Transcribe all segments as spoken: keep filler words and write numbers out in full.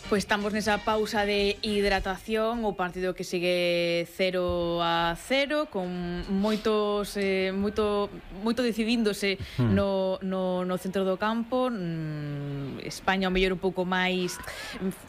Pois estamos nesa pausa de hidratación, o partido que sigue cero a cero, con moitos eh, moito moito decidíndose hmm. no, no, no centro do campo. mm, España ao mellor un pouco máis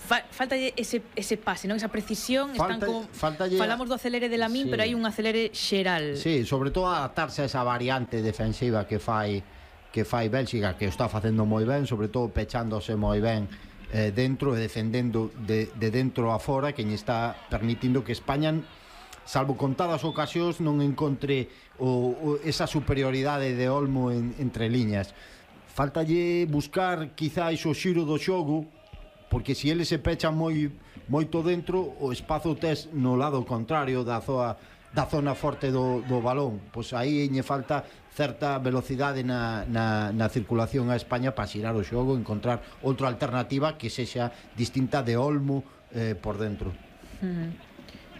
fa, falta ese, ese pase, non? Esa precisión. Falta, Están con, faltalle... falamos do acelere de Lamín, sí. Pero hai un acelere xeral. Sí, sobre todo adaptarse a esa variante defensiva que fai que fai Bélxica, que o está facendo moi ben, sobre todo pechándose moi ben Eh, dentro e defendendo de, de dentro a fora, que lle está permitindo que España, salvo contadas ocasións, non encontre o, o, esa superioridade de Olmo en, entre liñas. Faltalle buscar quizáis o xiro do xogo, porque se eles se pechan moi moito dentro, o espazo tes no lado contrario da zoa da zona forte do, do balón. Pois aí lle falta certa velocidade na, na, na circulación a España para xirar o xogo, encontrar outra alternativa que sexa distinta de Olmo eh, por dentro. Uh-huh.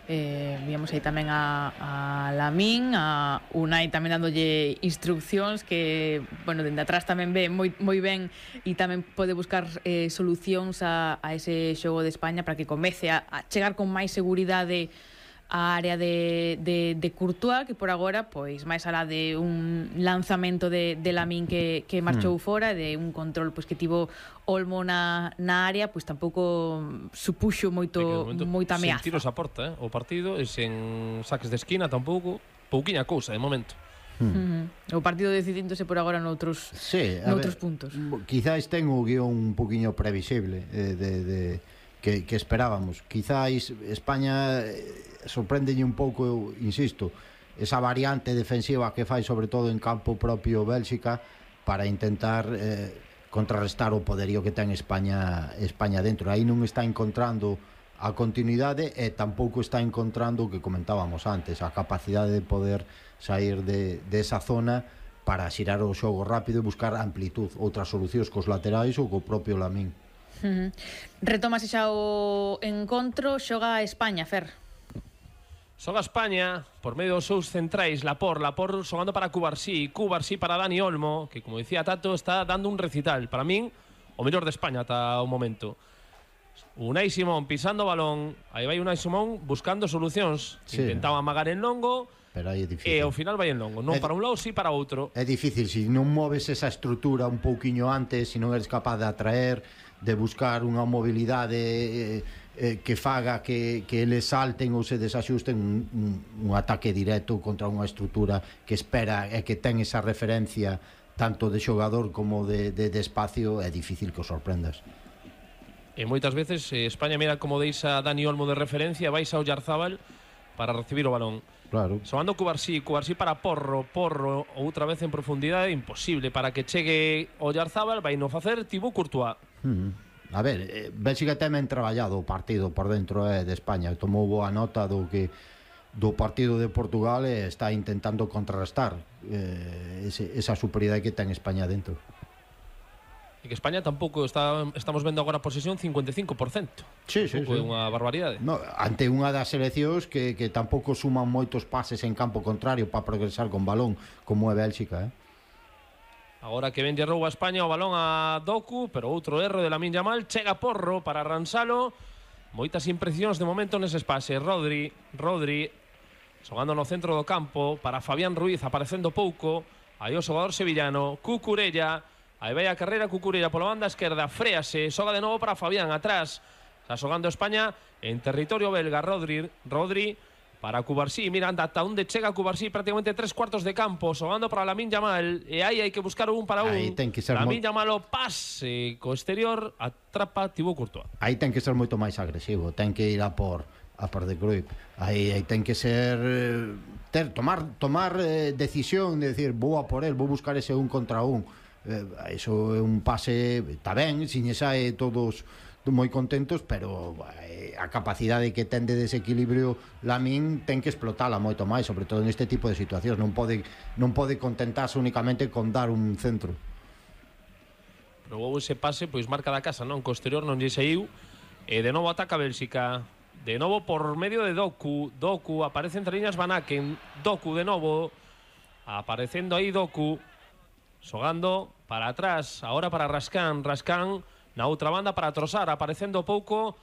eh, Víamos aí tamén a, a Lamín, a Unai tamén dándolle instruccións, que, bueno, dende atrás tamén ve moi, moi ben e tamén pode buscar eh, solucións a, a ese xogo de España para que comece a, a chegar con máis seguridade a área de, de, de Courtois, que por agora, pois, máis alá de un lanzamento de, de Lamín que, que marchou mm. fora, de un control pois, que tivo Olmo na, na área, pois tampouco supuxo moito, moita ameaza. Sen tiros a porta, eh? O partido, e sen saques de esquina tampouco, pouquiña cousa de momento. Hmm. Uh-huh. O partido decidíndose por agora noutros, sí, noutros ver, puntos. Quizás ten o guión un poquinho previsible eh, de... de... Que, que esperábamos. Quizáis España eh, sorpréndelle un pouco, insisto, esa variante defensiva que fai sobre todo en campo propio Bélxica para intentar eh, contrarrestar o poderío que ten España España dentro. Aí non está encontrando a continuidade e tampouco está encontrando o que comentábamos antes, a capacidade de poder sair de, de esa zona para xirar o xogo rápido e buscar amplitud, outras solucións cos laterais ou co propio Lamín. Uh-huh. Retomase xa o encontro. Xoga España, Fer. Xoga España por medio dos seus centrais, Lapor, Lapor xogando para Cubarsí, Cubarsí para Dani Olmo, que, como dicía Tato, está dando un recital. Para min, o mellor de España ata o momento. Unai Simón pisando o balón, aí vai Unai Simón buscando solucións. Sí. Intentaba amagar en longo, pero aí é difícil. E ao final vai en longo, non é, para un lado, si para outro. É difícil, se non moves esa estrutura un pouquiño antes, se non eres capaz de atraer, de buscar unha mobilidade eh, eh, que faga que, que eles salten ou se desaxusten, un, un, un ataque directo contra unha estrutura que espera e que ten esa referencia tanto de xogador como de, de, de espacio, é difícil que os sorprendas. E moitas veces eh, España mira como deixa Dani Olmo de referencia, vais ao Oyarzábal para recibir o balón. Claro. Sobando Cubarsí, Cubarsí para Porro, Porro outra vez en profundidade, imposible para que chegue o Oyarzábal, vai no facer Thibaut Courtois. Hmm. A ver, eh, Bélxica temen traballado o partido por dentro eh, de España, tomou boa nota do que do partido de Portugal e está intentando contrarrestar eh, ese, esa superioridade que ten España dentro. E que España tampouco está, estamos vendo agora a posesión cincuenta e cinco por cento. Sí, sí, sí. É unha barbaridade. No, ante unha das seleccións que, que tampouco suman moitos pases en campo contrario para progresar con balón, como é Bélxica, eh? Agora que ven de roubo a España o balón a Doku, pero outro erro de Lamín Yamal, chega Porro para Ransalo. Moitas impresións de momento nese espace. Rodri, Rodri xogando no centro do campo para Fabián Ruiz, aparecendo pouco. Aí o xogador sevillano, Cucurella. Aí vai a carreira Cucurella pola banda esquerda, fréase, xoga de novo para Fabián atrás. Está xogando España en territorio belga. Rodri, Rodri para Cubarsí, mira, anda ata onde chega Cubarsí, prácticamente tres cuartos de campo, xogando para Lamín Yamal, e aí hai que buscar un para un. Lamín Yamal o pase co exterior, atrapa Thibaut Courtois. Aí ten que ser moito máis agresivo, ten que ir a por a por de Cruyff. Aí, aí ten que ser ter, tomar tomar eh, decisión de decir, vou a por el, vou buscar ese un contra un. Eh, iso é un pase, está ben, sin esa é todos moi contentos, pero eh, a capacidade que ten de desequilibrio Lamín ten que explotala moito máis, sobre todo neste tipo de situacións. Non pode non pode contentarse únicamente con dar un centro. Probou ese pase, pois marca da casa, non? Co exterior non lle saiu, e de novo ataca Bélxica, de novo por medio de Doku. Doku aparece entre liñas Van Aken, Doku de novo aparecendo aí Doku, xogando para atrás, agora para Raskan. Raskan Na outra banda para Trossard, aparecendo pouco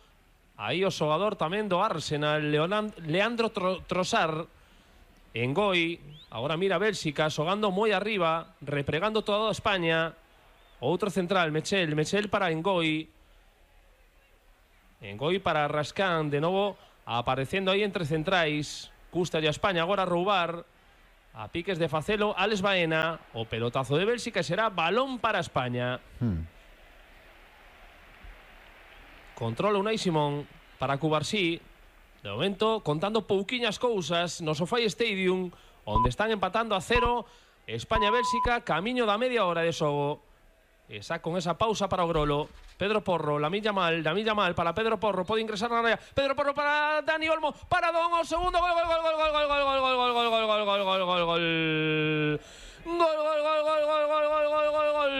aí o xogador tamén do Arsenal, Leonand, Leandro Tro, Trossard. Engoi, agora mira Bélxica, xogando moi arriba, repregando toda España. Outro central, Mechel, Mechel para Engoi. Engoi para Rascán, de novo aparecendo aí entre centrais. Custalle a España agora roubar. A piques de facelo, Alex Baena. O pelotazo de Bélxica será balón para España. Hmm. Controla Unai Simón para Cubarsí. De momento, contando pouquiñas cousas no SoFi Stadium, onde están empatando a cero España-Bélxica, camiño da media hora de xogo. Esa con esa pausa para o Grolo. Pedro Porro, Lamine Yamal, Lamine Yamal para Pedro Porro, pode ingresar na área. Pedro Porro para Dani Olmo, para Don, o segundo gol, gol, gol, gol, gol, gol, gol, gol, gol, gol, gol, gol, gol, gol, gol, gol, gol, gol. Gol, gol, gol, gol, gol, gol, gol, gol, gol, gol.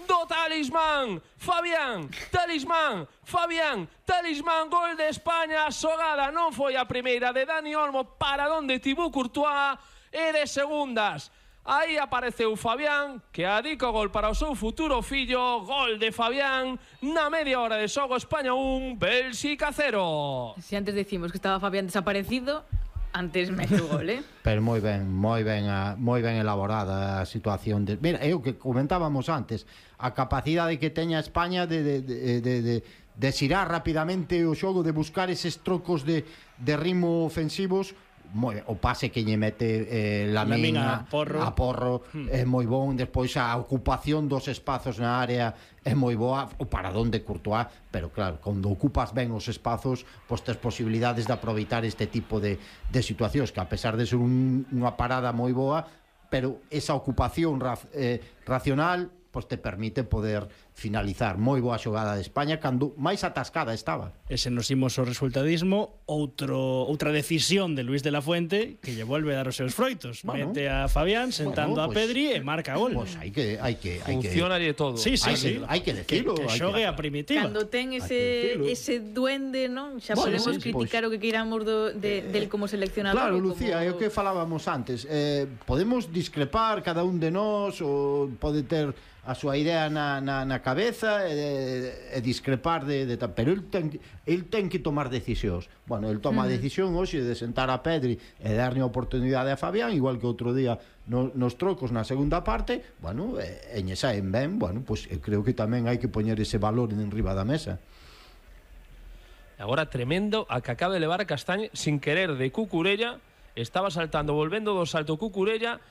Do Talismán, Fabián, Talismán, Fabián, Talismán, gol de España. A xogada non foi a primeira de Dani Olmo para donde Thibaut Courtois, e de segundas aí apareceu Fabián, que adica o gol para o seu futuro fillo. Gol de Fabián na media hora de xogo. España un, Bélxica cero. Si antes decimos que estaba Fabián desaparecido, antes mete o gol, eh? Pero moi ben, moi ben, a, moi ben elaborada a situación de... Mira, é o que comentábamos antes, a capacidade que teña España de, de, de, de, de, de xirar rapidamente o xogo, de buscar eses trocos de, de ritmo ofensivos. Moi, o pase que lle mete eh, Lamine a Porro, a porro hmm. é moi bon. Despois a ocupación dos espazos na área é moi boa, o paradón de Courtois. Pero claro, cando ocupas ben os espazos, pois tes posibilidades de aproveitar este tipo de, de situacións, que a pesar de ser un, unha parada moi boa, pero esa ocupación ra, eh, racional pois te permite poder finalizar. Moi boa xogada de España, cando máis atascada estaba. E se nos imos ao resultadismo, outro, outra decisión de Luis de la Fuente que lle volve a dar os seus froitos. Bueno, mete a Fabián sentando bueno, pues, a Pedri e marca gol. Pois pues hai que hai que hai funciona que todo. Sí, sí, hai sí. Que, hai que decirlo, que, que xogue a primitiva. Cando ten ese ese duende, non? Xa bueno, podemos sí, criticar pues, o que queiramos do de, del como seleccionador. Claro, Lucía, é como... o que falábamos antes. Eh, podemos discrepar cada un de nós, ou pode ter a súa idea na, na, na cabeza e, e discrepar de, de pero el ten, el ten que tomar decisións. Bueno, el toma uh -huh. a decisión hoxe de sentar a Pedri e darlle a oportunidade a Fabián, igual que outro día no, nos trocos na segunda parte. Bueno, e, e lle saen ben. Bueno, pues eu creo que tamén hai que poñer ese valor en riba da mesa. Agora tremendo a que acaba de levar a Castañe sin querer de Cucurella. Estaba saltando, volvendo do salto Cucurella.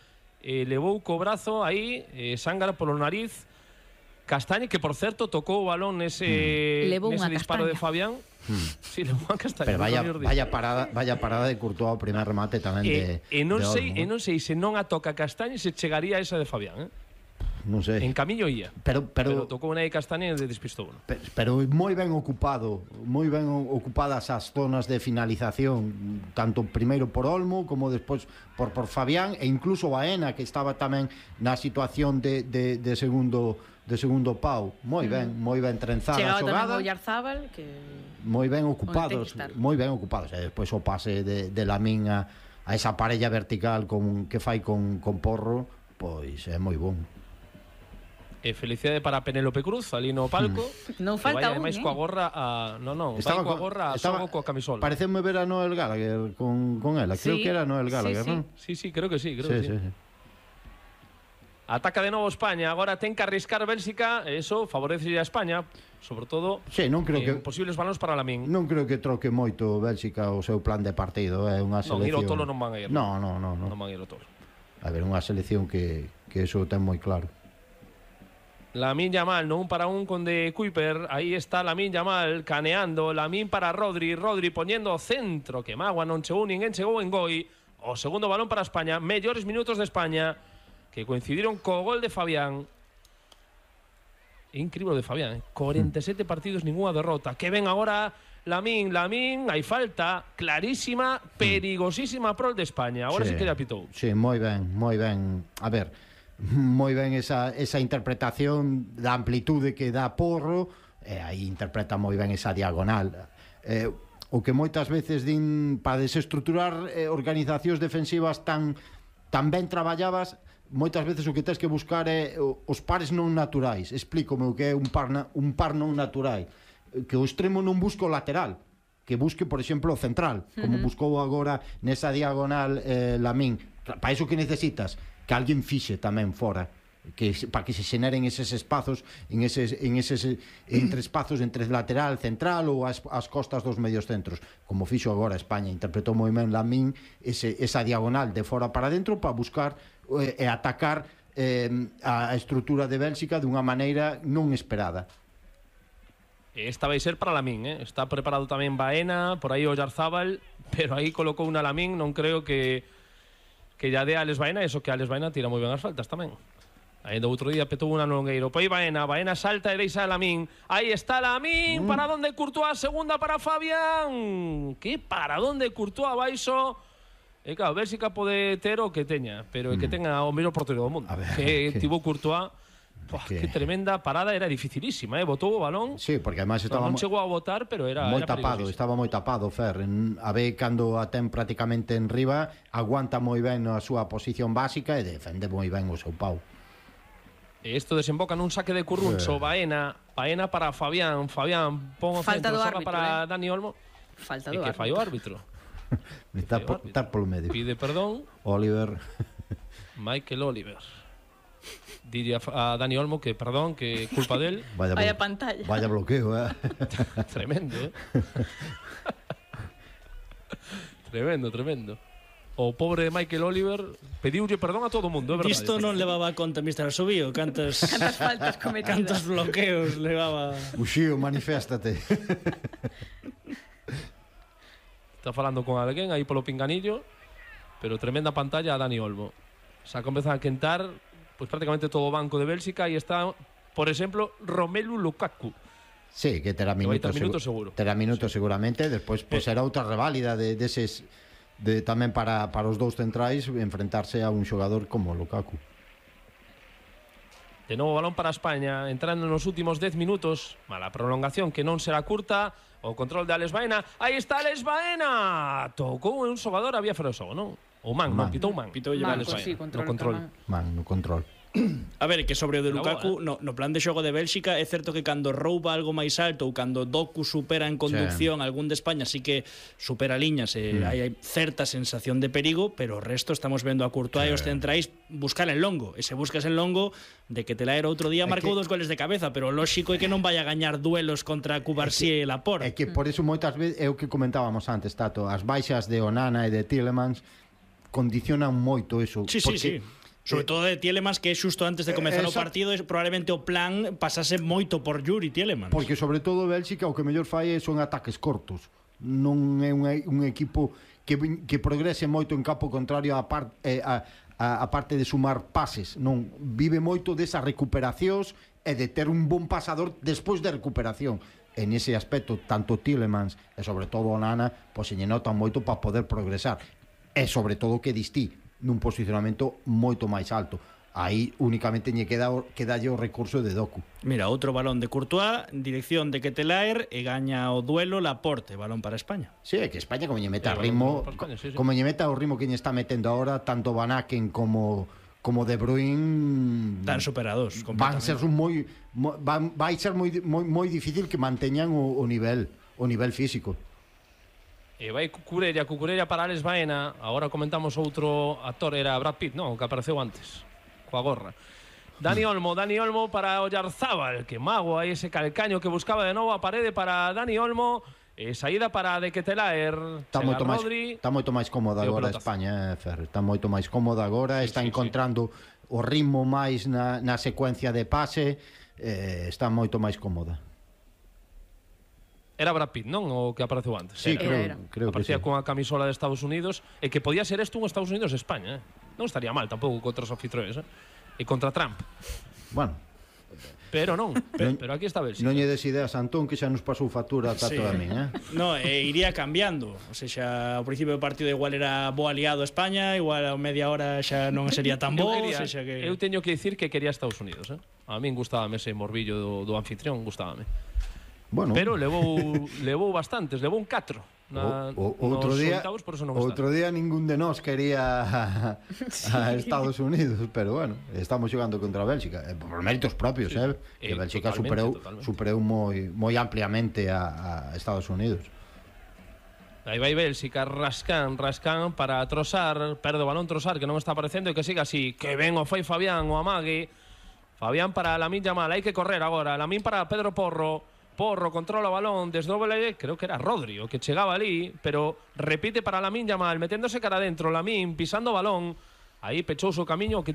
Eh, levou co brazo aí, eh, Sángara polo nariz. Castañe, que por certo tocou o balón nese, mm. nese disparo castaña. de Fabián. Mm. Sí, levou a Castañe. Pero vaya, vaya, parada, vaya parada de Courtois o primer remate tamén eh, de, e non de sei, Olmo. E non sei se non a toca Castañe se chegaría a esa de Fabián, eh? Non sei. En camiño ia. Pero, pero, pero tocou unha de Castañe e de despistou. ¿no? Pero, pero moi ben ocupado, moi ben ocupadas as zonas de finalización, tanto primeiro por Olmo como despois por, por Fabián, e incluso Baena, que estaba tamén na situación de, de, de segundo de segundo pau. Moi ben, mm. moi ben trenzada a xogada. Chegaba tamén o Yarzábal, que moi ben ocupados, moi ben ocupados. E despois o pase de, de Lamine a, a esa parella vertical con, que fai con, con Porro, pois é moi bon. E felicidade para Penélope Cruz ali no palco. Non falta un, máis eh? coa gorra a... Non, non, vai coa gorra a xogo coa camisola. Pareceme ver a Noel Gallagher con, con ela. Creo sí, que era Noel Gallagher, sí, sí. non? Sí, sí, creo que sí, creo sí, que sí. sí, sí. Ataca de novo España, agora ten que arriscar Bélxica, eso favorece a España, sobre todo sí, non creo en que, posibles balóns para Lamine. Non creo que troque moito Bélxica o seu plan de partido, é unha selección. Non, ir ao tolo non van a ir. Non, non, non, non. Non van a ir ao tolo. A ver, unha selección que, que eso ten moi claro. Lamine Yamal, no un para un con de Kuiper. Aí está Lamine Yamal caneando. Lamine para Rodri. Rodri poniendo centro. Que magua non chegou ninguén, chegou en Goi. O segundo balón para España. Mellores minutos de España que coincidiron co gol de Fabián. Incrível de Fabián, eh? cuarenta y siete partidos, ninguna derrota. Que ven agora Lamine, Lamine, hai falta clarísima, perigosísima prol de España. Agora sí, sí que ya pitou. Sí, moi ben, moi ben. A ver, moi ben esa, esa interpretación da amplitude que dá Porro, e aí interpreta moi ben esa diagonal. Eh, o que moitas veces din para desestruturar eh, organizacións defensivas tan, tan ben traballadas, moitas veces o que tens que buscar é os pares non naturais. Explícome o que é un par, na, un par non natural. Que o extremo non busca o lateral, que busque, por exemplo, o central, como uh -huh. buscou agora nesa diagonal eh, Lamín. Para iso que necesitas que alguén fixe tamén fora, que para que se xeneren eses espazos en eses, en eses entre espazos entre lateral, central ou as, as costas dos medios centros, como fixo agora España. Interpretou moi ben Lamín ese, esa diagonal de fora para dentro para buscar e eh, atacar eh, a estrutura de Bélxica dunha maneira non esperada. Esta vai ser para Lamín, eh? Está preparado tamén Baena, por aí Oyarzábal, pero aí colocou unha Lamín, non creo que que ya dé a Alex Baena, eso que Alex Baena tira moi ben as faltas tamén. Ainda outro día petou unha Longueiro. Pois Baena, Baena salta e deixa a Lamín. Aí está Lamín, mm. para donde Courtois, segunda para Fabián. Que para donde Courtois abaixo. E claro, Bélxica pode ter o que teña, pero é mm. que tenga o mellor portero do mundo. A ver, que, que tivo Courtois. Pua, que... que tremenda parada, era dificilísima, eh? Botou o balón. Sí, porque además estaba non chegou a botar, pero era moi era tapado, estaba moi tapado Fer. En, a ver, cando a ten prácticamente en riba, aguanta moi ben a súa posición básica e defende moi ben o seu pau. Esto desemboca nun saque de Curruncho, Baena, Baena para Fabián, Fabián pon o Falta centro, árbitro, para eh? Dani Olmo. Falta e do que fai o árbitro. Está por, está polo medio. Pide perdón. Oliver. Michael Oliver. Diría a Dani Olmo que perdón, que culpa del. Vaya, vaya pantalla. Vaya bloqueo, eh. Tremendo, eh. Tremendo, tremendo. O pobre Michael Oliver pediulle perdón a todo o mundo, é verdade. Isto non levaba a conta mister Asubío, cantas cantas faltas cometidas. Cantos bloqueos levaba. Uxío, maniféstate. Está falando con alguén aí polo pinganillo, pero tremenda pantalla a Dani Olmo. Xa comeza a quentar pois prácticamente todo o banco de Bélxica e está, por exemplo, Romelu Lukaku. Sí, que terá minutos, que minutos seguro. Terá minutos sí. seguramente, despois pois será outra reválida de deses de, de tamén para, para os dous centrais enfrentarse a un xogador como Lukaku. De novo balón para España, entrando nos últimos dez minutos, mala prolongación que non será curta, o control de Alex Baena, aí está Alex Baena, tocou un xogador, había fora o xogo, non? O Man, man. non, pitou Man. Pitou Man, Alex pues Baena, sí, control, no control. Man, no control. A ver, que sobre o de Lukaku, boa, eh? no, no plan de xogo de Bélxica, é certo que cando rouba algo máis alto ou cando Doku supera en conducción sí. algún de España, sí que supera liñas e mm. hai certa sensación de perigo, pero o resto estamos vendo a Courtois sí. e os centrais buscar en longo, e se buscas en longo de que te la era outro día marcou que... dos goles de cabeza, pero o lóxico é que non vai a gañar duelos contra Cubarsí e Laporte. É que por eso moitas veces é o que comentábamos antes, Tato, as baixas de Onana e de Tielemans condicionan moito eso, sí, porque sí, sí. Sobre todo de Tielemans, que xusto antes de comezar o partido probablemente o plan pasase moito por Yuri Tielemans. Porque sobre todo Bélxica o que mellor fai son ataques cortos. Non é un, un equipo que, que progrese moito en campo contrario a, par, eh, a, a, a parte de sumar pases. Non, vive moito desas recuperacións e de ter un bon pasador despois de recuperación. En ese aspecto, tanto Tielemans e sobre todo Onana, pois se lle notan moito para poder progresar. E sobre todo que distí nun posicionamento moito máis alto. Aí únicamente lle queda quedalle o recurso de Doku. Mira, outro balón de Courtois, dirección de Ketelaer e gaña o duelo Laporte, balón para España. Sí, é que España como lle meta sí, ritmo, España, sí, sí. como lle meta o ritmo que lle está metendo ahora, tanto Van Aken como como De Bruyne están superados van ser moi, moi van, vai ser moi, moi moi difícil que manteñan o, o nivel, o nivel físico. E vai Cucurella, Cucurella para Alex Baena. Agora comentamos outro actor, era Brad Pitt, non? O que apareceu antes, coa gorra. Dani Olmo, Dani Olmo para Oyarzábal, que mago aí ese calcaño que buscaba de novo a parede para Dani Olmo. E saída para De Ketelaer. Está moito máis, está moito máis cómoda agora España, eh, Fer. Está moito máis cómoda agora, sí, está sí, encontrando sí. o ritmo máis na, na secuencia de pase, eh, está moito máis cómoda. Era Brad Pitt, non? O que apareceu antes. Sí, era. creo, era. creo que sí. Aparecía con a camisola de Estados Unidos e que podía ser isto un Estados Unidos e España, eh? Non estaría mal tampouco contra os anfitriones, eh? E contra Trump. Bueno, pero non, pero, pero aquí está Bélxica. Non lle des ideas a Antón, que xa nos pasou factura a Tato sí. a min, eh? No, e iría cambiando. O sea, xa ao principio do partido igual era bo aliado a España, igual a media hora xa non sería tan bo, eu, quería, o sea, que... eu teño que dicir que quería Estados Unidos, eh? A min gustábame ese morbillo do, do anfitrión, gustábame. Bueno. Pero levou levou bastantes, levou un catro. na, o, o, outro nos día, oitavos, por eso non outro está. día ningún de nós quería a, Sí. a Estados Unidos, pero bueno, estamos xogando contra Bélxica, eh, por méritos propios, Sí. eh, que Eh, Bélxica totalmente, superou totalmente. superou moi moi ampliamente a, a Estados Unidos. Aí vai Bélxica, Rascán, Rascán para Trossard, perde o balón Trossard que non está aparecendo e que siga así, que ben o fai Fabián, o amague. Fabián para Lamine Yamal, hai que correr agora. Lamine para Pedro Porro. Porro controla o balón, desdoble, creo que era Rodri o que chegaba ali, pero repite para Lamine Yamal, meténdose cara adentro, Lamine pisando o balón. Aí pechou o seu camiño que tiña